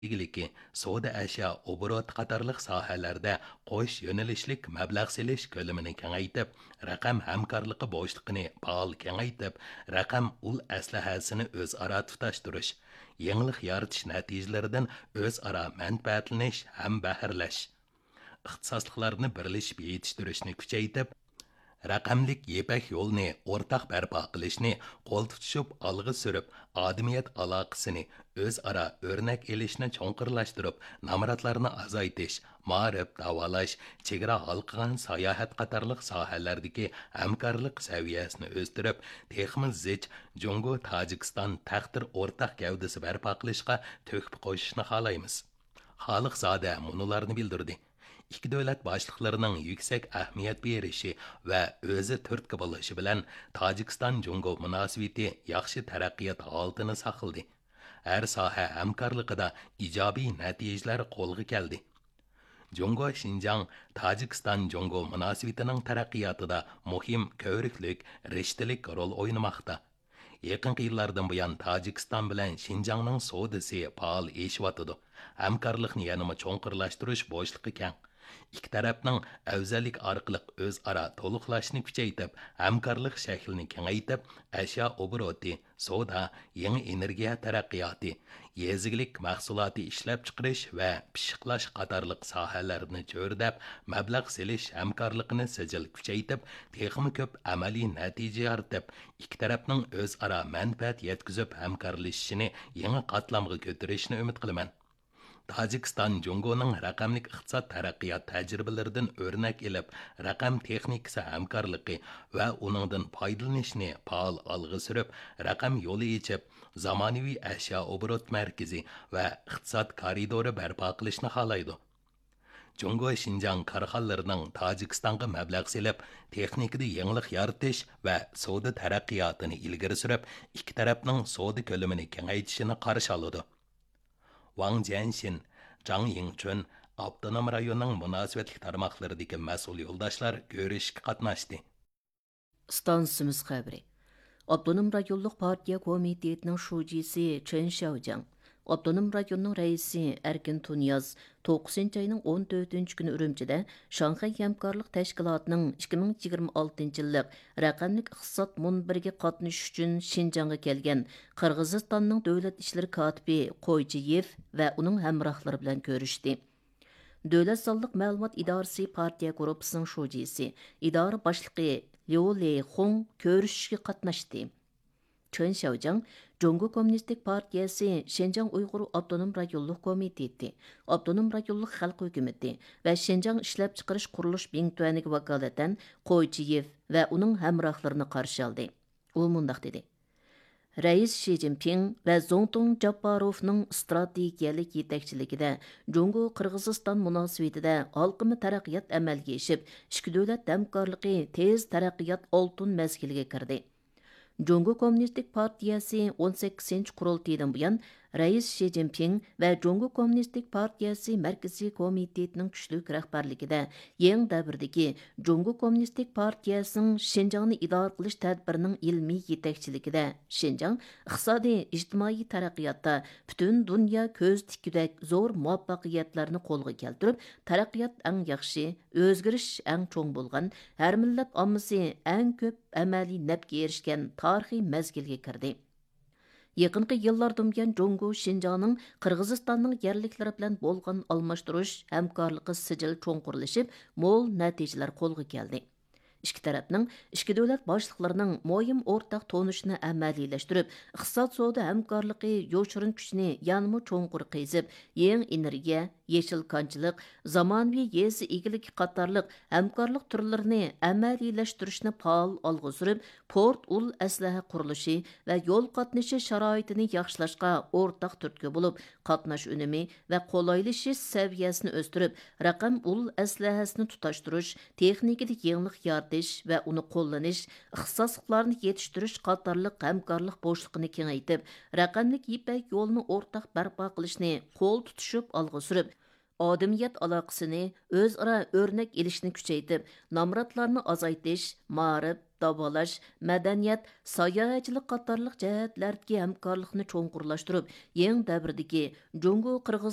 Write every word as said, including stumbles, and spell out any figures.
ئىگىلىكى، سودا ئەشيا ئوبوروتى قاتارلىق ساھەلەردە قوش يۆنىلىشلىك مەبلەغ سېلىش كۆلىمىنى كېڭەيتىپ، رەقەم ھەمكارلىقى بوشلۇقىنى پائال كېڭەيتىپ، رەقەم ئۇل ئەسلىھەسىنى ئۆزئارا تۇتاشتۇرۇش، يېڭىلىق يارىتىش نەتىجىلىرىدىن ئۆزئارا مەنپەئەتلىنىش ھەم بەھرىلەش، ئىختىساسلىقلارنى بىرلىشىپ يېتىشتۈرۈشنى كۈچەيتىپ، رەقەملىك يىپەك يولىنى ئورتاق بەرپا قىلىشنى قول تۇتۇشۇپ ئالغا سۈرۈپ، ئادەمىيەت ئالاقىسىنى ئۆزئارا ئۆرنەك ئېلىشنى چوڭقۇرلاشتۇرۇپ، نامراتلارنى ئازايتىش، مائارىپ، داۋالاش، چېگرا ھالقىغان ساياھەت قاتارلىق ساھەلەردىكى ھەمكارلىق سەۋىيەسىنى ئۆستۈرۈپ، تېخىمۇ زىچ جۇڭگو تاجىكىستان تەقدىر ئورتاق گەۋدىسى بەرپا قىلىشقا تۆھپە قوشۇشنى خالايمىز. خالىقزادە مۇنۇلارنى بىلدۈردى: ئىككى دۆلەت باشلىقلىرىنىڭ يۈكسەك ئەھمىيەت بېرىشى ۋە ئۆزى تۈرتكە بولۇشى بىلەن تاجىكىستان جۇڭگو مۇناسىۋىتى ياخشى تەرەققىيات ھالىتىنى ساقلىدى. ھەر ساھە ھەمكارلىقىدا ئىجابىي نەتىجىلەر قولغا كەلدى. جۇڭگو شىنجاڭ تاجىكىستان جۇڭگو مۇناسىۋىتىنىڭ تەرەققىياتىدا مۇھىم كۆۋرۈكلۈك، رىشتىلىك رول ئوينىماقتا. يېقىنقى يىللاردىن بۇيان تاجىكىستان بىلەن شىنجاڭنىڭ سودىسى پائال ئېشىۋاتىدۇ. ھەمكارلىقنى يەنىمۇ چوڭقۇرلاشتۇرۇش بوشلۇقى كەڭ. ئىككى تەرەپنىڭ ئەۋزەللىك ئارقىلىق ئۆزئارا تولۇقلاشنى كۈچەيتىپ، ھەمكارلىق شەكلىنى كېڭەيتىپ، ئەشيا ئوبوروتى، سودا، يېڭى ئېنېرگىيە تەرەققىياتى، يېزا ئىگىلىك مەھسۇلاتى ئىشلەپچىقىرىش ۋە پىششىقلاش قاتارلىق ساھەلەرنى چۆرىدەپ، مەبلەغ سېلىش ھەمكارلىقىنى سىجىل كۈچەيتىپ، تېخىمۇ كۆپ ئەمەلىي نەتىجە يارىتىپ، ئىككى تەرەپنىڭ ئۆزئارا مەنپەئەت يەتكۈزۈپ ھەمكارلىشىشىنى يېڭى قاتلامغا كۆتۈرۈشىنى ئۈمىد قىلىمەن. تاجىكىستان جۇڭگونىڭ رەقەملىك ئىقتىساد تەرەققىيات تەجرىبىلىرىدىن ئۆرنەك ئېلىپ، رەقەم تېخنىكىسى ھەمكارلىقى ۋە ئۇنىڭدىن پايدىلىنىشنى پائال ئالغا سۈرۈپ، رەقەم يولى ئېچىپ، زامانىۋى ئەشيا ئوبوروت مەركىزى ۋە ئىقتىساد كارىدورى بەرپا قىلىشنى خالايدۇ. جۇڭگو شىنجاڭ كارخانىلىرىنىڭ تاجىكىستانغا مەبلەغ سېلىپ، تېخنىكىدا يېڭىلىق يارىتىش ۋە سودا تەرەققىياتىنى ئىلگىرى سۈرۈپ، ئىككى تەرەپنىڭ سودا كۆلىمىنى كېڭەيتىشىنى قارشى ئالىدۇ. ۋاڭ جيەنشىن، جاڭ يىڭچۈن ئاپتونوم رايوننىڭ مۇناسىۋەتلىك تارماقلىرىدىكى مەسئۇل يولداشلار كۆرۈشۈشكە قاتناشتى. ئىستانسىمىز خەۋىرى. ئاپتونوم رايونلۇق پارتىيە كومىتېتىنىڭ شۇجىسى چېن شياۋجياڭ، ئاپتونوم رايوننىڭ رەئىسى ئەركىن تۇنىياز توققۇزىنچى ئاينىڭ ئون تۆتىنچى كۈنى ئۈرۈمچىدە شاڭخەي ھەمكارلىق تەشكىلاتىنىڭ ئىككى مىڭ يىگىرمە ئالتىنچى يىللىق رەقەملىك ئىقتىساد مۇنبىرىگە قاتنىشىش ئۈچۈن شىنجاڭغا كەلگەن قىرغىزىستاننىڭ دۆلەت ئىشلىرى كاتىپى قويچىيېف ۋە ئۇنىڭ ھەمراھلىرى بىلەن كۆرۈشتى. دۆلەت سانلىق مەلۇمات ئىدارىسى پارتىيە گۇرۇپپىسىنىڭ شۇجىسى، ئىدارە باشلىقى ليۇ لېيخۇڭ كۆرۈشۈشكە قاتناشتى. چېن شياۋجياڭ جۇڭگو كوممۇنىستىك پارتىيەسى شىنجاڭ ئۇيغۇر ئاپتونوم رايونلۇق كومىتېتى، ئاپتونوم رايونلۇق خەلق ھۆكۈمىتى ۋە شىنجاڭ ئىشلەپچىقىرىش قۇرۇلۇش بىڭتۈەنىگە ۋاكالىتەن قويچىيېف ۋە ئۇنىڭ ھەمراھلىرىنى قارشى ئالدى. ئۇ مۇنداق دېدى: رەئىس شى جىنپىڭ ۋە زۇڭتۇڭ جاپپاروفنىڭ ئىستراتېگىيەلىك يېتەكچىلىكىدە جۇڭگو قىرغىزىستان مۇناسىۋىتىدە ھالقىما تەرەققىيات ئەمەلگە ئېشىپ، ئىككى دۆلەت ھەمكارلىقى تېز تەرەققىيات ئالتۇن مەزگىلىگە كىردى. جۇڭگو كوممۇنىستىك پارتىيەسى ئون سەككىزىنچى قۇرۇلتىيىدىن بۇيان، رەئىس شى جىنپىڭ ۋە جۇڭگو كوممۇنىستىك پارتىيەسى مەركىزىي كومىتېتىنىڭ كۈچلۈك رەھبەرلىكىدە يېڭى دەۋردىكى جۇڭگو كوممۇنىستىك پارتىيەسىنىڭ شىنجاڭنى ئىدارە قىلىش تەدبىرىنىڭ ئىلمىي يېتەكچىلىكىدە شىنجاڭ ئىقتىسادىي، ئىجتىمائىي تەرەققىياتتا پۈتۈن دۇنيا كۆز تىككۈدەك زور مۇۋەپپەقىيەتلەرنى قولغا كەلتۈرۈپ، تەرەققىيات ئەڭ ياخشى، ئۆزگىرىش ئەڭ چوڭ بولغان، ھەر مىللەت ئاممىسى ئەڭ كۆپ ئەمەلىي نەپكە ئېرىشكەن تارىخىي مەزگىلگە كىردى. يېقىنقى يىللاردىن بۇيان جۇڭگو شىنجاڭنىڭ قىرغىزىستاننىڭ يەرلىكلىرى بىلەن بولغان ئالماشتۇرۇش ھەمكارلىقى سىجىل چوڭقۇرلىشىپ، مول نەتىجىلەر قولغا كەلدى. ئىككى تەرەپنىڭ، ئىككى دۆلەت باشلىقلىرىنىڭ مۇھىم ئورتاق تونۇشىنى ئەمەلىيلەشتۈرۈپ، ئىقتىساد سودا ھەمكارلىقى يوشۇرۇن كۈچىنى يەنىمۇ چوڭقۇر قېزىپ، يېڭى ئېنېرگىيە، يېشىل كانچىلىق، زامانىۋى يېزا ئىگىلىكى قاتارلىق ھەمكارلىق تۈرلىرىنى ئەمەلىيلەشتۈرۈشنى پائال ئالغا سۈرۈپ، پورت ئۇل ئەسلىھە قۇرۇلۇشى ۋە يول قاتنىشى شارائىتىنى ياخشىلاشقا ئورتاق تۈرتكە بولۇپ، قاتناش ئۈنۈمى ۋە قولايلىشىش سەۋىيەسىنى ئۆستۈرۈپ، رەقەم ئۇل ئەسلىھەسىنى تۇتاشتۇرۇش، تېخنىكىدا يېڭىلىق يارىتىش ۋە ئۇنى قوللىنىش، ئىختىساسلىقلارنى يېتىشتۈرۈش قاتارلىق ھەمكارلىق بوشلۇقىنى كېڭەيتىپ، رەقەملىك يىپەك يولىنى ئورتاق بەرپا قىلىشنى قول تۇتۇشۇپ ئالغا سۈرۈپ، ئادەمىيەت ئالاقىسىنى ئۆزئارا ئۆرنەك ئېلىشنى كۈچەيتىپ، نامراتلارنى ئازايتىش، مائارىپ، داۋالاش، مەدەنىيەت، ساياھەتچىلىك قاتارلىق جەھەتلەردىكى ھەمكارلىقنى چوڭقۇرلاشتۇرۇپ، يېڭى دەۋردىكى جۇڭگو قىرغىز